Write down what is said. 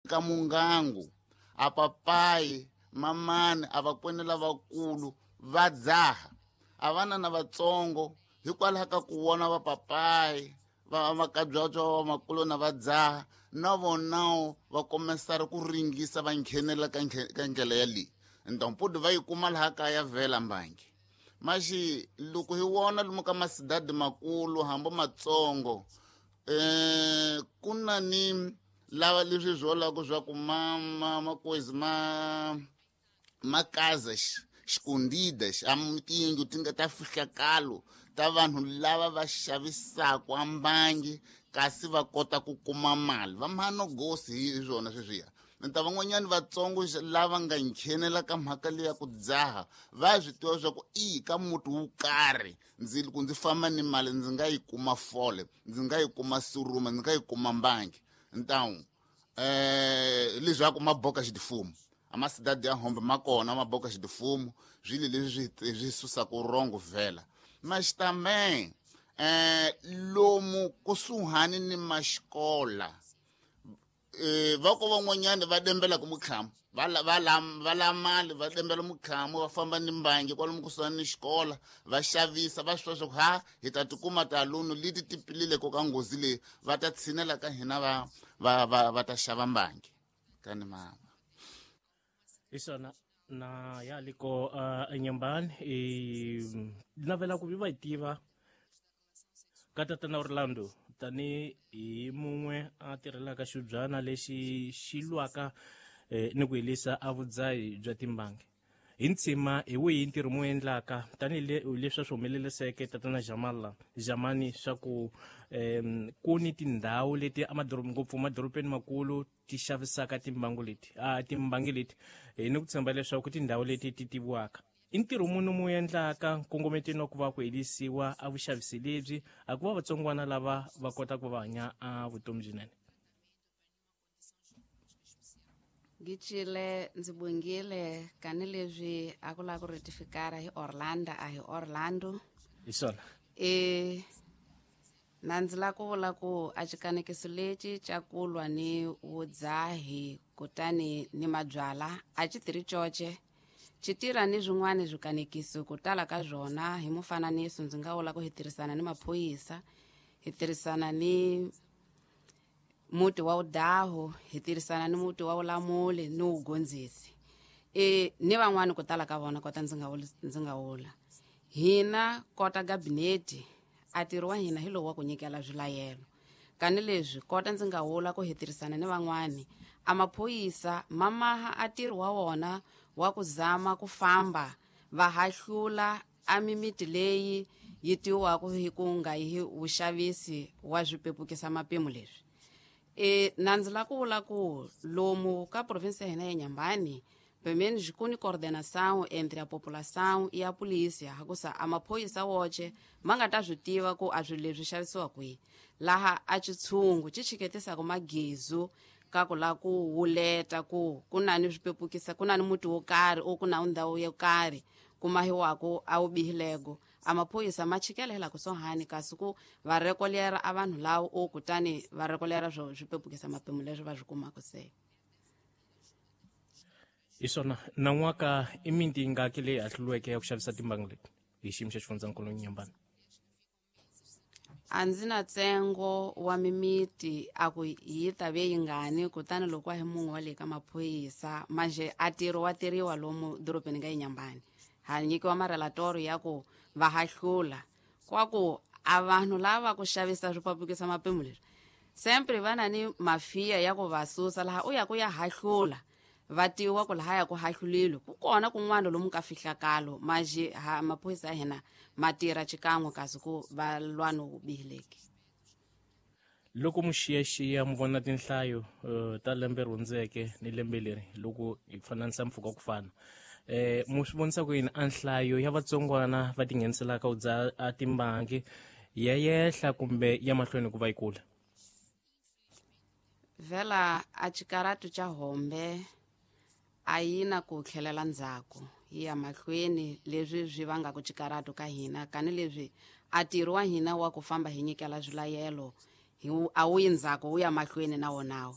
Ka mungangu a papayi mamani a vakwene lavakulu va dzaha a vana na vatsongo hikwalaho ka ku vona vapapayi va makabyabya va vamakulu na va dzaha na vonawo va komesara ku ringisa va nghenela ka ndlela ya leyi ntompudu va yi kuma laha kaya vhela mbangi maxi loko hi vona lomu ka masidadi makulu hambi matsongo ku na ni lava leswi swi vulaka swa ku ma ma makwezi ma makaza xikundida xa tiyindlu ti nga ta fihlakalo ta vanhu lava va xavisaka ambangi kasi va kota ku kuma mali va mhano gosi hi swona sweswiya nta van'wanyani vatsongo lava nga nghenela ka mhaka leya ku dzaha va swi tiva swa ku i ka muti wo karhi ndzi loko ndzi famba ni mali ndzi nga yi kuma fole ndzi nga yi kuma suruma ndzi nga yi kuma mbangi ntawu leswaku maboka xitifumu amasidadi ya hombe ma kona maboka xitifumu swilo leswi swi susaka rongo vhela maxitame lomu kusuhani ni maxikola va ko van'wanyani va dembelaka mukhamu va la mali va dembela mukhamu va famba ni mbangi kwalomu kusuhani ni xikola va xavisa va swi swa ku ha hi ta tikuma talunu leti ti pilileko ka nghozi leyi va ta tshinela ka hina va ta xava mbangi kani mama hi swona na ya liko enyambani i navela ku vi va yi tiva ka tatana Orlando tani hi mun'we a tirhelaka xibyana lexi xi lwaka ni ku helisa a vudzahi bya timbangi hi ntshima hi wihi ntirho mu endlaka tanihi leswi swi humeleliseke tatana Jamala Jamani swa ku ku ni tindhawu leti amadorobeni ngopfu madorobeni makulu ti xavisaka timbangu leti a timbangi leti hi ni ku tshemba leswaku tindhawu leti ti tiviwaka i ntirho muni mu endlaka nkongometeni wa ku va ku helisiwa a vuxavisi lebyi a ku va vatsongwana lava va kota ku va hanya a vutomi byinene. Ngicile ndzi bongile kani leswi a ku lava ku retifikara hi Orlando a hi Orlando hi swona na ndzi la ku vula ku a xikanekiso lexi xa ku lwa ni vudzahi kutani ni mabyala a xi tirhi coce xi tirha ni swin'wana swikanekiso ku tala ka swona hi mufananiso ndzi nga vula ku hi tirhisana ni maphorisa hi tirhisana ni muti wa udahu hi tirhisana ni muti wa ulamuli ni ugondzisi ni van'wani ku tala ka vona kota ndzi nga vula hina kota gabineti a tirho wa hina hi lowu wa ku nyikela swilayelo kani leswi kota ndzi nga vula ku hi tirhisana ni van'wani a maphorisa mamaha a tirho wa wona wa ku zama ku famba va hahlula a mimiti leyi yi tiwiwaka hi ku nga hi vuxavisi wa swipepukisa mapimo leswi na ndzi la ku vula ku lomu ka provinsi ya hina ya Nyambani pelo menos ku ni coordenação entre a população e a polícia hakusa a maphorisa woce ma nga ta swi tiva ku a swilo leswi xavisiwa kwihi laha a xitshungu xi chiketisaka magezu ka ku la ku wuleta ku ku na ni swipepukisa ku na ni muti wo karhi o ku na ndhawu yo karhi ku mahiwaku a wu bihilego a maphorisa ma chikelela kusuhani kasi ku va rekolera a vanhu lawo o kutani va rekolera swo swipepukisa mapimo leswi va swi kumaka se. Hi swona nan'waka i miti yingaki leyi hahluriweke ya ku xavisa timbangi leti hi xiyimo xa xifundzankulu Nyambani? A ndzi na ntsengo wa mimiti a ku yi ta ve yingani kutani loko a hi mun'we wa le ka maphorisa manje a tirho wa tirhiwa lomu dorobeni ka Inyambani ha nyikiwa marelatori ya ku va hahlula kwa ku a vanhu lava ku xavisa swipapukisa mapimo leswi sempre va na ni mafiya ya ku va susa laha u ya ku ya hahlula va tiwa ku laha ya ku hahlulile ku kona kun'wana lomu ka fihlakalo manje ha maphorisa ya hina ma tirha xikan'we kasi ku va lwa no bihileki. Loko mu xiyaxiya mu vona tinhlayo ta lembe ri hundzeke ni lembe leri loko hi fananisa mpfhuka ku fana mu swi vonisa ku yini a nhlayo ya vatsongwana va tingheniselaka u dzaha a timbangi ya yehla kumbe ya mahlweni ku va yi kula? Vhela a xikaratu xa hombe a yi na ku tlhelela ndzhaku yi ya mahlweni leswi swi vangaka xikaratu ka hina kani leswi a ntirho wa hina wa ku famba hi nyikela swilayelo a wu yi ndzhaku wu ya mahlweni na wonawo.